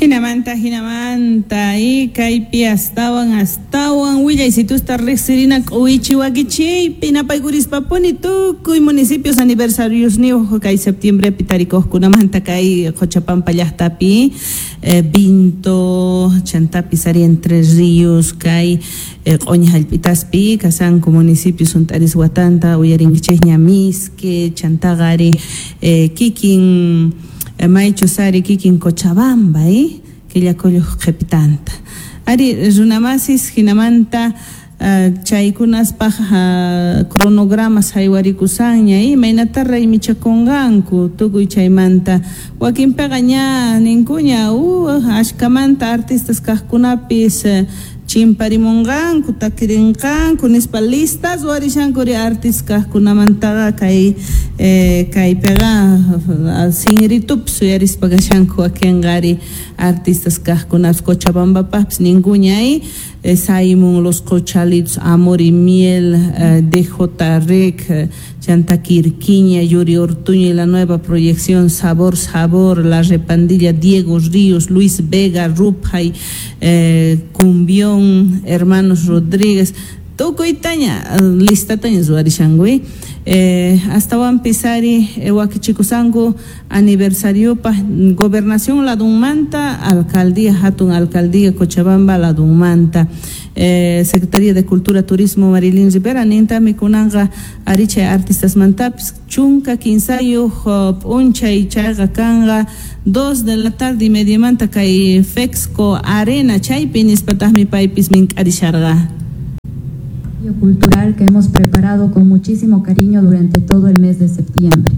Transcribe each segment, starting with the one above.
Hinamanta, hinamanta, y kaypi astawan, astawan willaysitusta riqsirina k'uwichi wakichiypi napaykurishpapuni tukuy municipios aniversarios niyuq kay septiembrepi tarikuqkunamanta kay Qochapampa llaqtapi Vinto, chantapis ari Entre Ríos kay q'uñi hallp'itaspi kasanku municipios hunt'aris watanta uyarinkichikña Misque, chantaqa ari kikin maychus ari kikin Cochabamba killakulluq qhipitanta ari runamasis hinamanta chaykunaspaq cronogramas haywarikushanña imaynata raymichakunqanku tukuy chaymanta wakinpiqa ña ninkuña ashkamanta artistas kaqkunapis chimparimunqanku takirinqanku nispa listas ruwarishankuri artistas kaqkunamantaqa kay kaypiqa sinritupis uyarispa kashanku wakinqa ari artistas kaqkunapis Cochabambapaqpis ninkuña Simon, Los Cochalitos, Amor y Miel, DJ Rec, Chanta Quirquiña, Yuri Ortuño y la nueva proyección Sabor Sabor, La Repandilla, Diego Ríos, Luis Vega, Rupay, Cumbión, Hermanos Rodríguez, tukuytaña listataña ruwarishanku astawanpis ari wakichikusanku aniversariopaq gobernación ladunmanta alcaldía hatun alcaldía Cochabamba ladunmanta Secretaría de Cultura Turismo Marilyn Rivera nintami kunanqa ari chay artistasmantapis chunka kinsayuq p'unchay chayqa kanqa 2 de la tarde y mediamanta kay Fexco Arena chaypi nispataqmi paypis mink'arisharqa. Cultural que hemos preparado con muchísimo cariño durante todo el mes de septiembre.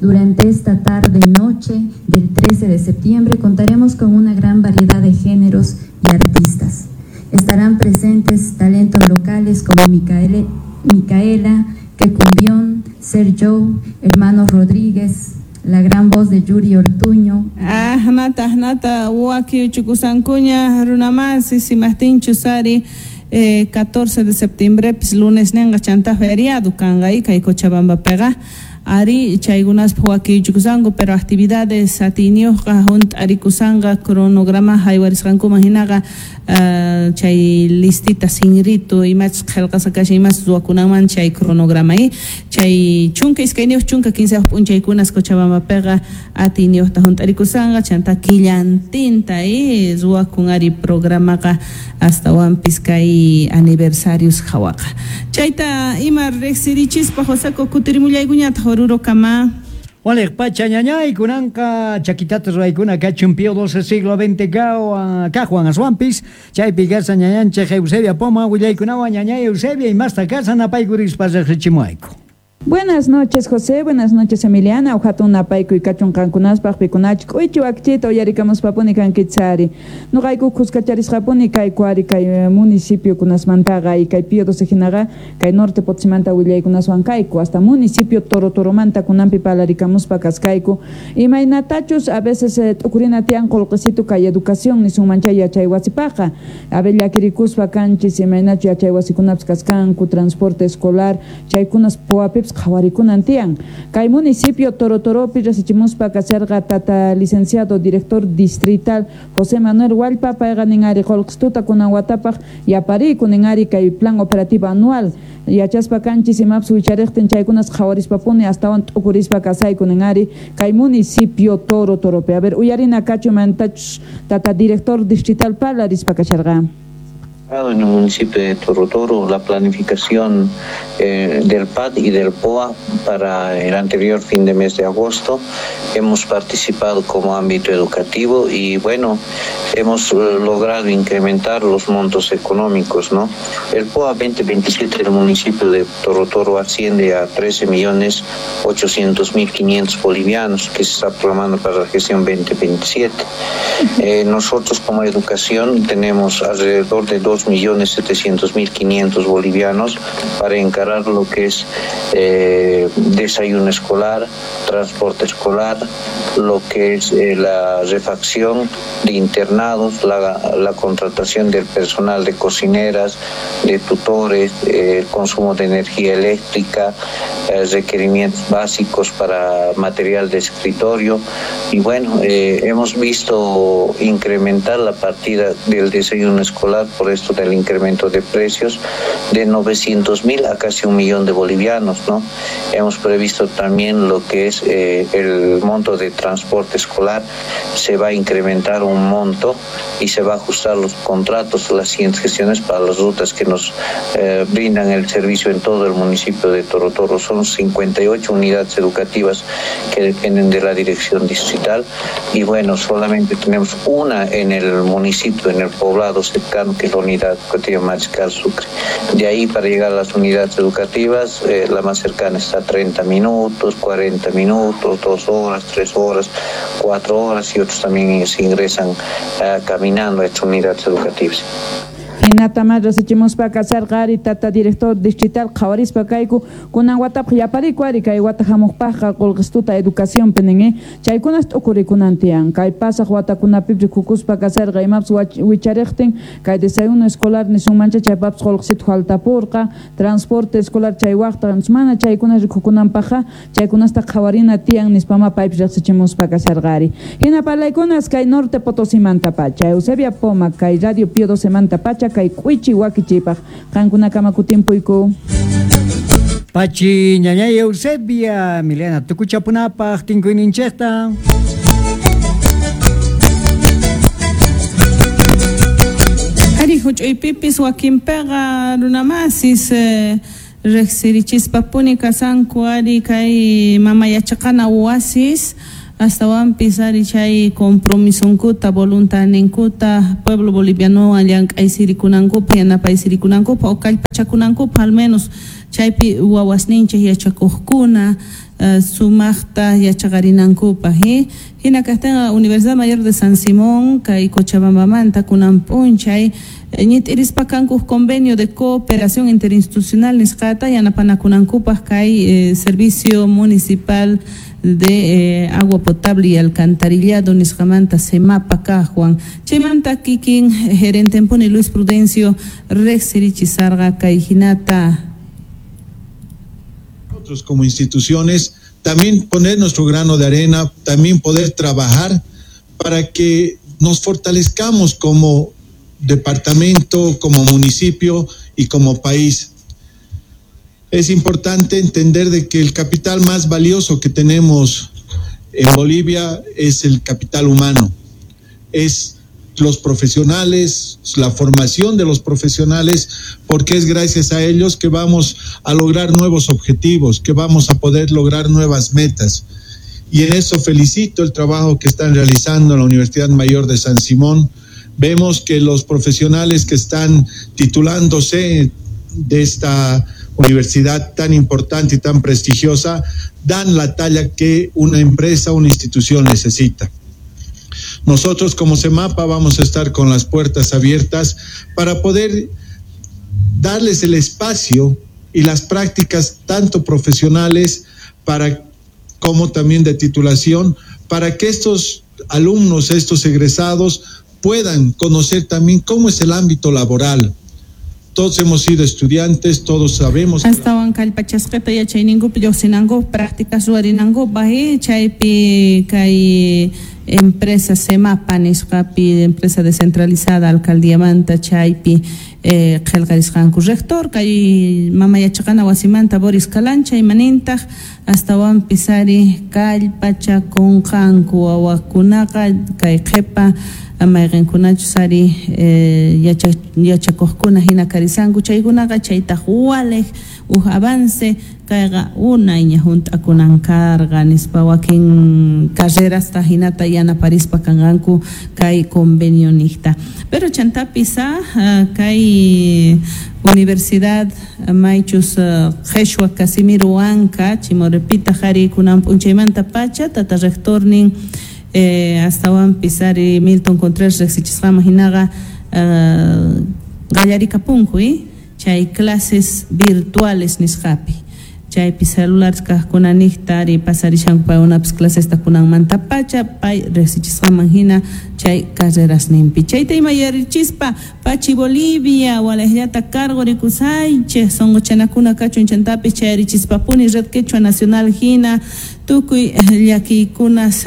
Durante esta tarde noche del 13 de septiembre contaremos con una gran variedad de géneros y artistas. Estarán presentes talentos locales como Micaela, Quecumbión, Sergio, Hermanos Rodríguez, la gran voz de Yuri Ortuño. Nata, nata, waki uchukusankuña, runamasi, simahtinchu sari. 14 de septiembre, pues, lunes nenga chanta feriado kanqa kay Cochabamba pega ari chaykunaspa wakichukusanku pero actividades atiyniyuqqa hunt'arikushanqa cronograma haywarisqankuman hinaqa chay listita sinritu imachus qillqasqa kashan imachus ruwakunanman chay cronograma chay 12 15 p'unchaykunas Cochabambapiqa atiyniyuqta hunt'arikushanqa chanta killantinta ruwakun ari programaqa astawanpis kay aniversarios hawaqa chayta ima riqsirichispa Joseko kutirimullaykuñataq Oruro kama. Waliq pacha ñañay kunanqa chakitata ruwaykuna kachun Pío XII siglo XX kaqwan aswanpis chaypi kasa ñañanchik Eusebia Poma willaykunawan ñañay Eusebia imasta kasa napaykurispa riqsichimuayku. Buenas noches, José. Buenas noches, Emiliana. Ujatun napayku y kachun qankunaspaq pikunachik k'uychi wakchita uyarikamuspapuni kankichari. Nuqayku kuskacharisqapuni kay kuari kay municipio kunasmantaqa y kay Pío XII hinaqa kay norte Potosímanta willaykunaswan kayku hasta municipio Toro Toromanta kunanpi parlarikamuspa kaskayku. Imaynatachus a veces t'ukurina tiyan qullqisitu kay educación nisunman chay yachay wasipaqa. A ver llakirikuspa kanchis imaynachu yachay wasikunapis kaskanku transporte escolar chaykunas puwapipis qhawarikunan tiyan. Kay municipio Toro Toropi rasichimuspa kasharqa tata licenciado director distrital José Manuel Huallpa payqa nin ari qullqistuta kunan watapaq yapariku nin ari kay plan operativo anual yachaspa kanchis imapis wichariqtin chaykunas qhawarispapuni astawan t'ukurispa kasayku nin ari kay municipio Toro Toropi. A ver uyarina kachu mantachus tata director distrital parlarispa kasharqa. En el municipio de Toro Toro la planificación del PAD y del POA para el anterior fin de mes de agosto. Hemos participado como ámbito educativo y bueno, hemos logrado incrementar los montos económicos, ¿no? El POA 2027 del municipio de Toro Toro asciende a 13.800.500 bolivianos que se está programando para la gestión 2027. Nosotros como educación tenemos alrededor de 2.700.500 bolivianos para encarar lo que es desayuno escolar, transporte escolar, lo que es la refacción de internados, la contratación del personal de cocineras, de tutores, el consumo de energía eléctrica, requerimientos básicos para material de escritorio. Y bueno, hemos visto incrementar la partida del desayuno escolar por esto del incremento de precios de 900.000 a casi 1 millón de bolivianos, ¿no? Hemos previsto también lo que es el monto de transporte escolar, se va a incrementar un monto y se va a ajustar los contratos, las siguientes gestiones para las rutas que nos brindan el servicio en todo el municipio de Toro Toro. Son 58 unidades educativas que dependen de la dirección distrital y bueno, solamente tenemos una en el municipio, en el poblado cercano, que es la unidad educativa Mariscal Sucre. De ahí para llegar a las unidades educativas, la más cercana está a 30 minutos, 40 minutos, 2 horas, 3 horas, 4 horas y otros también se ingresan caminando a estas unidades educativas. Hinata más resichimuspa kasarqa ari tata director distrital qhawarispa kayku kunan watapaq yapariku ari kay wata hamuqpaqqa qullqistuta educación pinin chaykunas t'ukurikunan tiyan kay pasaq watakunapipi rikukuspa kasarqa imapas wichariqtin kay desayuno escolar nisunmancha chaypapas qullqisitu faltapurqa transporte escolar chay waqta mana chaykunas rikukunanpaqqa chaykunasta qhawarina tiyan nispama paypis riqsichimuspa kasarqa ari hina parlaykunas kay Norte Potosimanta pacha Eusebia Poma kay Radio Pío 12 manta pacha kay k'uichi wakichipaq qankunakama kutimpuyku. Pachi ñañay Eusebia, Milena tukuchapunapaq tinkuyninchikta. Ari huch'uypipis wakinpiqa runamasis riqsirichispapuni kasanku ari kay mama yachaqana wasis astawanpis ari chay compromisonkuta voluntadninkuta pueblo boliviano llank'aysirikunankupa yanapaysirikunankupa o kallpachakunankupa al menos chaypi wawasninchik yachakuqkuna sumaqta yachaqarinankupaq hina kaqtinqa Universidad Mayor de San Simón kay Cochabambamanta kunan p'unchay ñit'irispa kanku convenio de cooperación interinstitucional nisqata yanapanakunankupaq kay servicio municipal de agua potable y alcantarillado nisqamanta semapa kaqwan chaymanta kikin gerente puni Luis Prudencio riqsirichisarqa kay hinata. Nosotros como instituciones también poner nuestro grano de arena, también poder trabajar para que nos fortalezcamos como departamento, como municipio y como país. Es importante entender de que el capital más valioso que tenemos en Bolivia es el capital humano, es los profesionales, la formación de los profesionales, porque es gracias a ellos que vamos a lograr nuevos objetivos, que vamos a poder lograr nuevas metas. Y en eso felicito el trabajo que están realizando en la Universidad Mayor de San Simón. Vemos que los profesionales que están titulándose de esta universidad tan importante y tan prestigiosa dan la talla que una empresa, una institución necesita. Nosotros como SEMAPA vamos a estar con las puertas abiertas para poder darles el espacio y las prácticas tanto profesionales para, como también de titulación, para que estos alumnos, estos egresados puedan conocer también cómo es el ámbito laboral. Todos hemos sido estudiantes, todos sabemos. Astawan kallpachasqita yachayninkupi lluqsinankup prácticas ruwarinankupaq chaypi kay empresa SEMAPA nisqapi empresa descentralizada alcaldiamanta chaypi qillqarisqanku rector kay mama yachaqana wasimanta Boris Calancha imanintaq astawanpis ari kallpachakunqanku wawakunaqa kay qhipa mayqinkunachus ari yachakuqkuna hina karisanku chaykunaqa chaytaq waliq uj avance kayqa unayña hunt'akunan karqa nispa wakin carrerasta hinata yanaparispa kanqanku kay convenio niqta. Pero chantapis kay Universidad maychus Qheshwa Casimiro Huanca Chimorepita qhari kunan p'unchaymanta pacha tata rectornin astawanpis ari Milton Contreras riqsichisqaman hinaqa qallarikapunku chay clases virtuales nisqapi. Chaypi celulares kaqkuna niqta ari pasarishanku paykunapas clasesta kunanmanta pacha pay riqsichisqanman hina chay carrerasninpi. Chayta ima yarichispa Pachi Bolivia walaqllata cargo rikusaychik sunquchanakuna kachun chantapis chayarichispapuni Red Quechua Nacional hina tukuy llakiykunas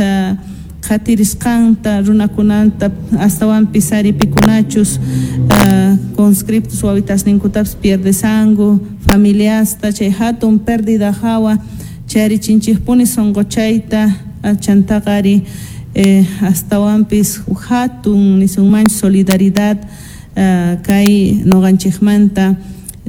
qhatirisqanta runakunanta astawanpis ari pikunachus conscriptos wawitasninkutapis pierdesanku familiasta chay hatun pérdida hawa chayarichinchikpuni sunquchayta chantaqa ari astawanpis hatun nisunmanchu solidaridad kay nuqanchikmanta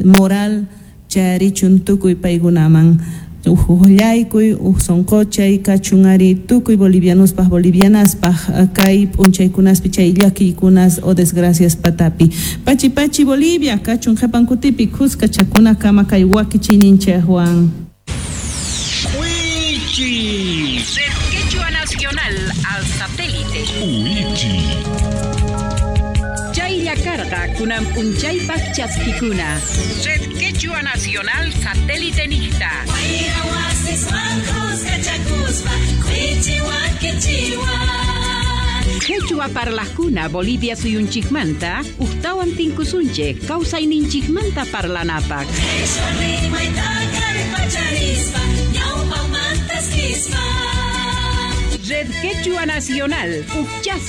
moral chayarichun tukuy paykunaman. Uqllaykuy, uq sunquchay kachun ari tukuy bolivianospaq bolivianaspaq kay p'unchaykunaspi chay llakiykunas o desgracias patapi. Pachi pachi Bolivia kachun qhipankutipi khuska chakuna kama kay wakichiyninchikwan. Wichi. Red Quechua Nacional al satélite. Wichi. Chaylla karqa kunan p'unchaypaq chaskikuna. Red Quechua Nacional satélite niqta. Quechua parlajkuna Bolivia suyunchikmanta uqtawan tinkusunchik kawsayninchikmanta parlanapaq. Red Quechua Nacional, ukchas